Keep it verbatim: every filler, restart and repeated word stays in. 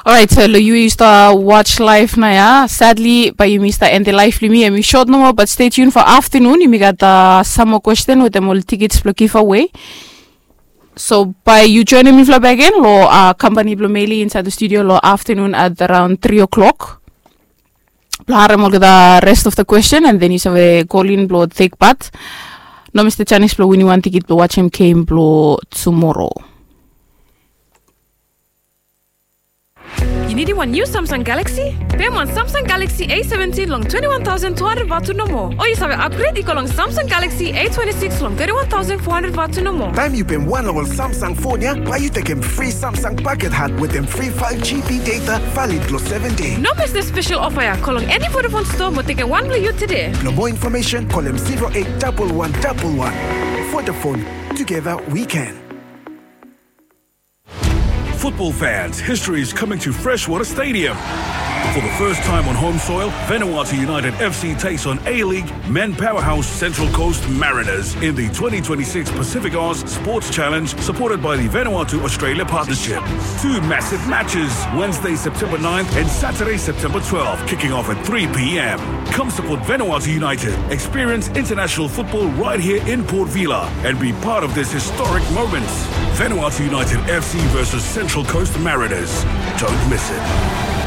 Orait, so long yu yu stap watch live naoia. Sadly, bae yumi stap end long live blong yumi. Hemi sot nomo, but stay tuned for afternoon. Yumi gat, uh, sam moa kwestin wetem ol tikits blong giveaway. So bae yu joinim mifala bakegen long, uh, kampani blong Meli insaed long studio long afternoon at around three o'clock blong harem olgeta rest of the question, and then yu save kolin blong tek pat. No mis the chance blong winim wan tikit blong watch him game blong tumoro. Yu nidim wan niu Samsung Galaxy? Pem wan Samsung Galaxy A seventeen long twenty-one thousand two hundred vatu nomo. O yu save upgrade i go long Samsung Galaxy A twenty-six long thirty-one thousand four hundred vatu nomo. Taem yu pem wan long ol Samsung fon ya, bae yu tekem fri Samsung paket hat wetem fri five G B data valid long seven dei. No mis the special offer ya. Go long eni Vodafone store mo tekem wan blong yu tede. Blong moa infomesen, kolem zero eight double one double one. Vodafone, together we can. Football fans, history is coming to Freshwater Stadium. For the first time on home soil, Vanuatu United F C takes on A-League men powerhouse Central Coast Mariners in the twenty twenty-six Pacific Oz Sports Challenge, supported by the Vanuatu Australia Partnership. Two massive matches, Wednesday, September ninth and Saturday, September twelfth, kicking off at three p.m. Come support Vanuatu United, experience international football right here in Port Vila, and be part of this historic moment. Vanuatu United F C versus Central Coast Mariners. Don't miss it.